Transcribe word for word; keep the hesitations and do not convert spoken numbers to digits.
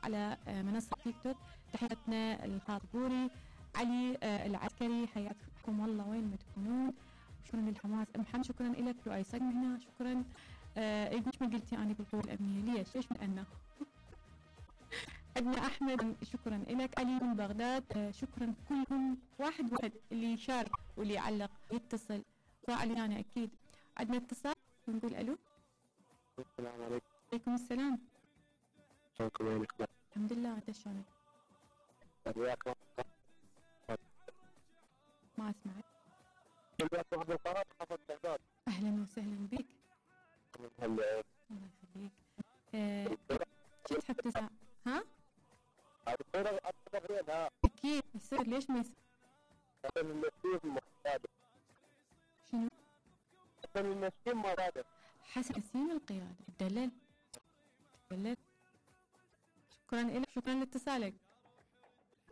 على منصة تيك توك. تحياتنا الخاطبوري علي العسكري، حياكم الله وين ما تكونون. شكرا للحماس ام محمد، شكرا لك. لؤي صقم هنا، شكرا. آه ليش ما قلتي اني بالقوة الامنية؟ ليش ليش من انا؟ عندنا احمد، شكرا لك. علي من بغداد، آه شكرا كلكم، واحد واحد اللي يشارك واللي يعلق يتصل فاعل يعني اكيد. عندنا اتصال، نقول الو. السلام عليكم. عليكم السلام. شلونكم وينك؟ الحمد لله، انت شلونك؟ وياك ما اسمعك. وياك عبد القادر حافظ بغداد. اهلا وسهلا بك. هلا الله يخليك. آه، شو تحب تسمع؟ ها؟ الدكتورة أتفق ها. اكيد يصير، ليش ما يصير؟ حسن المسكين المقادة. شنو؟ حسن المسكين مقادة. حسن ياسين القيادة. دلل دلل. شكرا لك، شكرا لاتصالك.